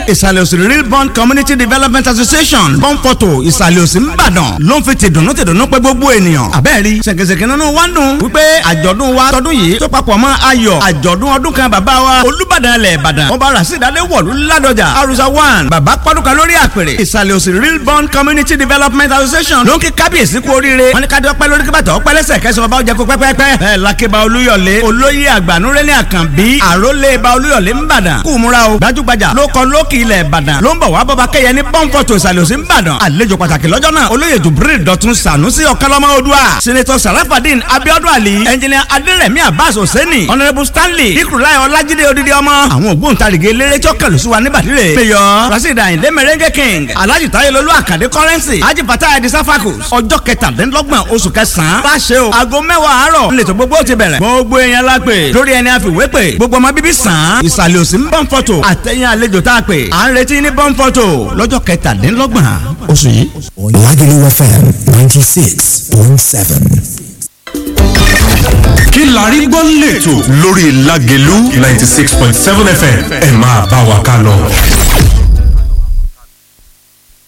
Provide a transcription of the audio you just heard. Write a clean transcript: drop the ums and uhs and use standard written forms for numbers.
Ìsàlẹ̀ Òsì Real Bond Community Development Association, Bọ́ǹpọ̀tò, Ìsàlẹ̀ Òsì, Ńbàdàn ló ń fi tìdùnnú tìdùnnú pé gbogbo ènìyàn. Àbẹ́ẹ̀rí ṣèkèṣèkè nínú wa ń dùn wípé àjọ̀dún wa tọdún yìí tó papọ̀ mọ́ ayọ̀ àjọ̀dún ọdún kan bàbá wa Olúbàdàn ilẹ̀ Ìbàdàn, Ọba Rasheed Adéwọ̀lú Ládọjà Arusa 1. Bàbá pọ́dúkà lórí àpèrè. Ìsàlẹ̀ Òsì Real Bond Community Development Association ló ń kí kábíyèsí kú oríire. Wọ́n ní ká dọ́pẹ́ lórí kíbàtà ọpẹ́ lẹ́sẹ̀ kẹsàn-án ọba ọjà kó pẹ́pẹ́pẹ́. Bẹ́ẹ̀ lakeba Olúyọ̀lé, olóyè àgbànúrẹ́lẹ̀ Àkànbí, àrólé ba Olúyọ̀lé ńbàdàn, kú múra o. Gbajúgbajà ló kọ lókì ilẹ̀ Ìbàdàn ló ń bọ̀ wá bọ́ba kẹyẹ ní Pọ́ńpọ̀tò, Ìsàlẹ̀ Òsì ńbàdàn. Àlejò pàtàkì lọ́jọ́ náà, olóyè Jubril Dọ̀tun Sànúsì Ọ̀kánlọ́mọ Odua, Senator Sarafadin Abiodun Ali, Engineer Adérẹ̀mí Abbas Hosseini, Honourable Stanley Ikurulai Ọlájídé Odidi ọmọ. Àwọn ògbóǹtarìgì eléré tí ó kẹlù sí wa ní bàdìrẹ, Mayor Rasheed Ayinde Merengue King, Alhaji Tayelolu Akande Currency, Haji Fatah Edi Safakus. Ọjọ́ 27 oṣù kẹsàn-án bá ṣe o, aago 10 àárọ̀ nílẹ̀ tó gbogbo ti bẹ̀rẹ̀. Gbogbo èèyàn la pè lórí ẹni àfiwé pè, gbogbo ọmọ bíbí sàn án Ìsàlẹ̀ Òsì ń Bọ́ǹfọ̀tò àtẹ̀yìn àlejò tá a pè à ń retí ní Bọ́ǹfọ̀tò lọ́jọ́ 27 oṣù yìí. Lagelu FM 96.7. Kí la rí gbọ́ lẹ́tọ̀ lórí Lágelú 96.7 FM, ẹ máa bá wa ká lọ.